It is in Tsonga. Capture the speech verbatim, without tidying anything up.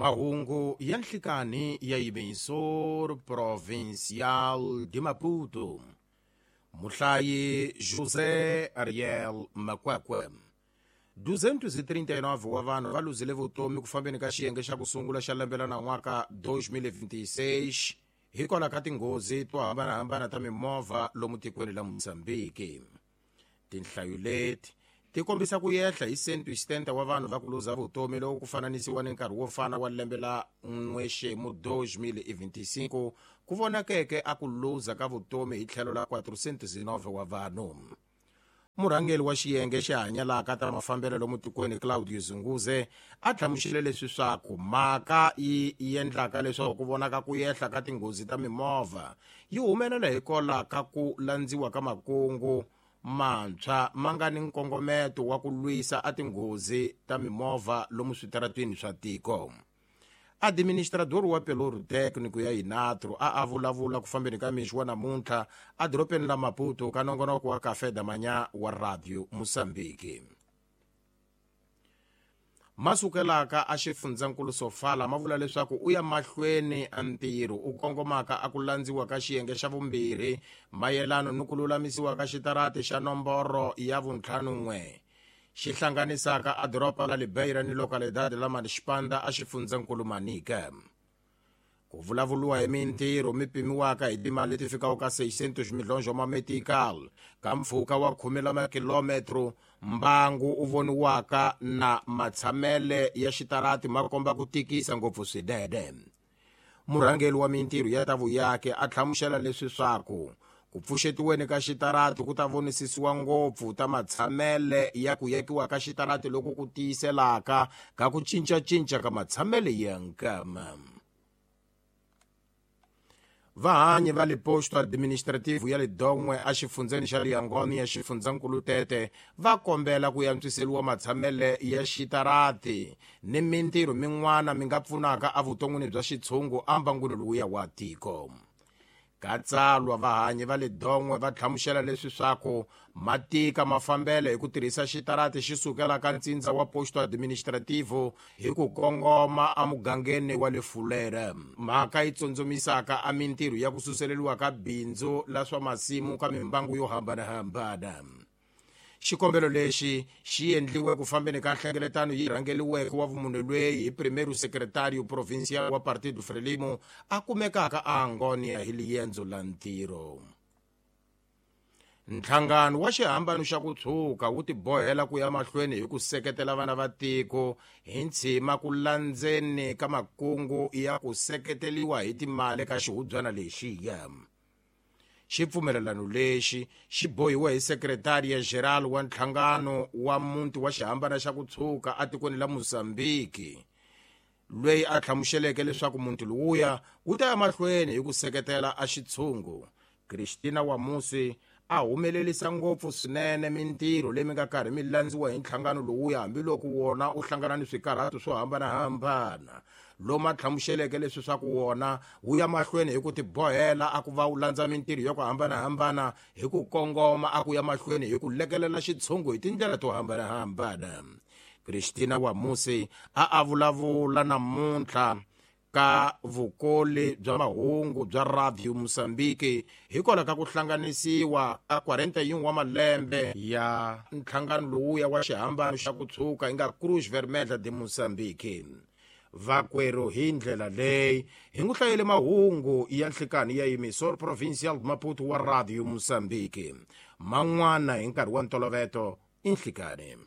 Mahungu ya nhlikani ya Emissor Provincial de Maputo. Muhlayi José Ariel Makwakwe. duzentos e trinta e nove wa vanhu va luzile vutomi ku fambeni ka xiyenge xa ku sungula xa lembe ra nan'waka dois mil e vinte e seis hikwalaho ka tinghozi to hambanahambana ta mimovha lomu tikweni la Mozambique. Tinhlayo leti ti kombisa ku yehla hi cento e setenta wa vanhu va ku luza vutomi loko ku fananisiwa ni nkarhi wo fana wa lembe la n'wexemu dois mil e vinte e cinco ku vonakeke a ku luza ka vutomi hi tlhelo la quatrocentos e nove wa vanhu. Murhangeri wa xiyenge xi hanyalaka ta mafambelo lomu tikweni Claudio Zunguze a hlamusele leswi swaku mhaka yi endlaka leswaku ku vonaka ku yehla ka tinghozi ta mimovha yi humelela hikwalaho ka ku landziwa ka makungu mantshwa ma nga ni nkongometo wa ku lwisa a tinghozi ta mimovha lomu switarateni swa tiko. Administrador wa Pelouro Técnico ya Inatro a a vulavula ku fambeni ka mixo wa namuntlha edorobeni la Maputo ka nongonoko wa Café da Manhã wa Radio Moçambique. Masukelaka a xifundzankulu Sofala ma vula leswaku u ya mahlweni a ntirho u kongomaka a ku landziwa ka xiyenge xa vumbirhi mayelano ni ku lulamisiwa ka xitarati xa nomboro ya vuntlhanun'we xi hlanganisaka a doroba la Libeira ni localidade la Manixpanda a xifundzankulu Manica. Ku vulavuriwa hi mintirho mi pimiwaka hi timali leti fikaka ka seiscentos milhões ma metical ka mpfhuka wa khume la makilometro mbangu u voniwaka na matshamele ya xitarati ma komba ku tikisa ngopfu swinene. Murhangeri wa mintirho ya ta vuyaki a hlamusela leswi swaku ku pfuxetiweni ka xitarati ku ta vonisisiwa ngopfu ta matshamele ya ku yekiwa ka xitarati loko ku tiyiselaka ka ku cincacinca ka matshamele ya nkama. Vahanyi va le posto administrativo ya le Dongwe a xifundzeni xa Liangoni ya xifundzankulu Tete va kombela ku antswiseriwa matshamele ya xitarati ni mintirho min'wana mi nga pfunaka evuton'wini bya xitshungu embangwini lowuya wa tiko. Ka tsalwa vahanyi va le Dongwe va hlamusela leswi swaku matika mafambelo hi ku tirhisa xitarati xi sukela ka ntsindza wa posto administrativo hi ku kongoma emugangeni wa le Fulere. Mhaka yi tsundzumisaka a mintirho ya ku suseleriwa ka bindzu la swa masimu ka mimbangu yo hambanahambana. Xikombelo lexi xi endliwe ku fambeni ka nhlengeletano yi rhangeriweke wa vumunhu lweyi hi primeiro secretario provincial wa Partido Frelimo a kumekaka a Angonia hi liendzo la ntirho. Nhlangano wa xihambano xa ku tshuka wu tibohela ku ya mahlweni hi ku seketela vana va tiko hi ntshima ku landzeni ka makungu ya ku seketeriwa hi timali ka xihubyana lexiya. Xipfumelelano lexi xi bohiwe hi Secretaria Geral wa nhlangano wa muti wa xihambano xa ku tshuka etikweni la Mozambique, loyi a hlamuseleke leswaku muti lowuya wu ta ya mahlweni hi ku seketela a xitshungu. Christina Wamusi a humelerisa ngopfu swinene mintirho leyi mi nga karhi mi landziwa hi nhlangano lowuya hambiloko wona u hlangana ni swikarhato swo hambanahambana, lomu a hlamuseleke leswi swa ku wona wu ya mahlweni hi ku tibohela a ku va wu landza mintirho ya ku hambanahambana hi ku kongoma a ku ya mahlweni hi ku lekelela xitshungu hi tindlela to hambanahambana. Christina Wamusi a a vulavula namuntlha ka vukoli bya mahungu bya Radio Mozambique hikwalaho ka ku hlanganisiwa ka quarenta e um wa malembe ya nhlangano lowuya wa xihambano xa ku tshuka yi nga Cruz Vermelha de Mozambique. Vakwerhu hi ndlela leyi hi n'wi hlayele mahungu ya nhlikani ya Emissor Provincial Maputo wa Radio Mozambique. Man'wana hi nkarhi wa ntoloveto i nhlikani.